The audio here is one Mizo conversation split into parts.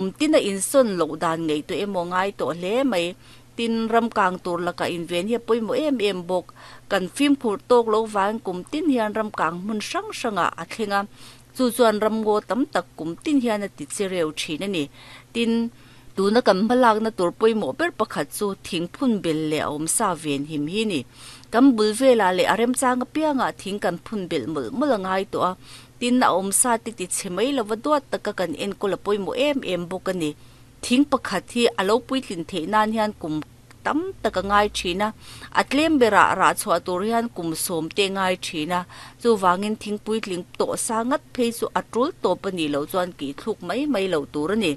Kum tin a insawn loh dan ngaihtuah emaw ngai tawh hle mai. Tin, ram kang tur lakah inven hi a pawimawh em em bawk. Kan fimkhur tawk lo vangin kum tin hian ram kang hmun hrang hrangah a thleng a, chu chuan ram ngaw tam tak kum tin hian a ti che reu thin a ni. Tin, tuna kan hmalakna tur pawimawh ber pakhat chu thing phun bel leh a awmsa ven him hi a ni. Kan bul velah leh a remchang apiangah thing kan phun belh mawlh mawlh a ngai tawh a, Tin, a awmsa te ti chhe mai lova duat taka kan enkawl a pawimawh em em bawk a ni. Thing pakhat hi a lo puitlin theih nan hian kum tam tak a ngai thin a, a tlem berah rah chhuah tur hian kum sawm te ngai thin a, chuvangin thing puitling tawh sa ngat phei chu a tul tawp a nih loh chuan kih thluk mai mai loh tur a ni.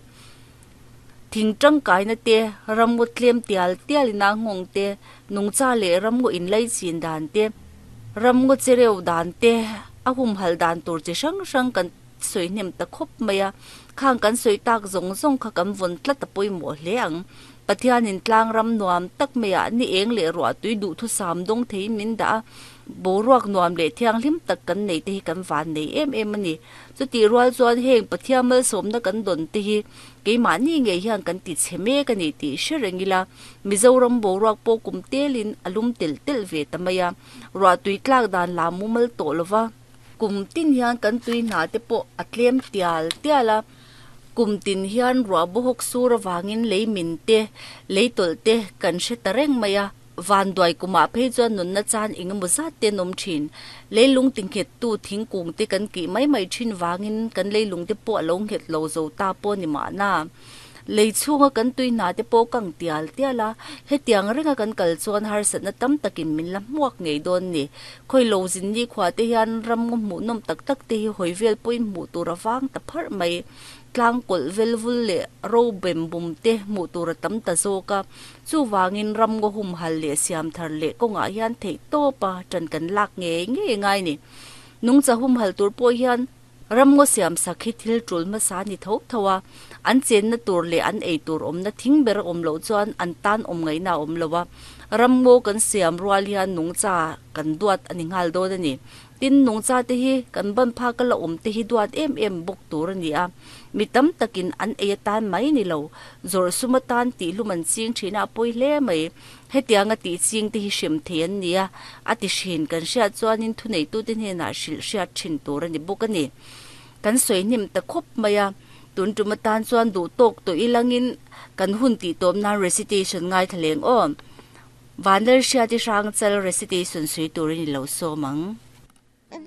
Thing tangkaina te, ramngaw tlem tial tial ina nghawng te, nungcha leh ramngaw inlaichin dan te, ramngaw chereu dan te, a humhal dan tur chi hrang hrang kan sawi hnem ta khawp mai a. Khang kan sawi tak zawng zawng kha kan vawn tlat a pawimawh hle ang. Pathianin tlang ram nuam tak maiah ni eng leh ruah tui duhthusam dawng theiin min dah a, boruak nuam leh thianghlim tak kan nei te hi kan van nei em em a ni. Chutih rual chuan heng Pathian malsawmna kan dawn te hi keimahni ngei hian kan ti chhe mek a ni tih hre reng ila, Mizoram boruak pawh kum telin a lum telh telh ve ta mai a, ruah tui tlak dan la mumal tawh lo va, kum tin hian kan tui hna te pawh a tlem tial tial a, kum tin hian ruah bawhawk sur avangin lei min te, lei tawlh te kan hre ta reng mai a. Vanduai kumah phei chuan nunna chan eng emaw zat te an awm thin. Leilung tinghettu thingkung te kan kih mai mai thin vangin kan leilung te pawh a lo nghet lo zo ta pawh a ni mahna. Lei chhunga kan tui hna te pawh kang tial tial a, hetiang renga kan kal chuan harsatna tam takin min la hmuak ngei dawn ni. Khawi lo zin nikhua te hian ramngaw hmuhnawm tak tak te hi hawi vel pawhin hmuh tur a vang ta pharh mai. Tlang kawlh vel vul leh ro bem bum te hmuh tur a tam ta zawk a. Chuvangin ramngaw humhal leh siamthar leh kawngah hian theih tawp a ṭan kan lak ngei ngei ngai ni. Nungcha humhal tur pawh hian ramngaw siamsak hi thil ṭul hmasa a ni tho tho a, an chenna tur leh an ei tur awmna thing ber a awm loh chuan an tan awm ngaihna a awm lo a, ramngaw kan siam rual hian nungcha kan duat a ni nghal dawn a ni. Tin, nungcha te hi kan ban phak a la awm te hi duat em em bawk tur a ni a, mi tam takin an ei atan mai ni lo, zawrh sum atan tih hlum an ching thin a, a pawi hle mai. Hetianga tih ching te hi hrem thei an ni a, a ti hrin kan hriat chuanin thuneitute hnenah hrilh hriat thin tur a ni bawk a ni. Kan sawi hnim ta khawp mai a, tun tum atan chuan duh tawk tawh ilangin kan hun tih tawp nan recitation ngaithla leng aw. Vanlalhriati Hrangchal recitation sawi turin i lo sawm ang.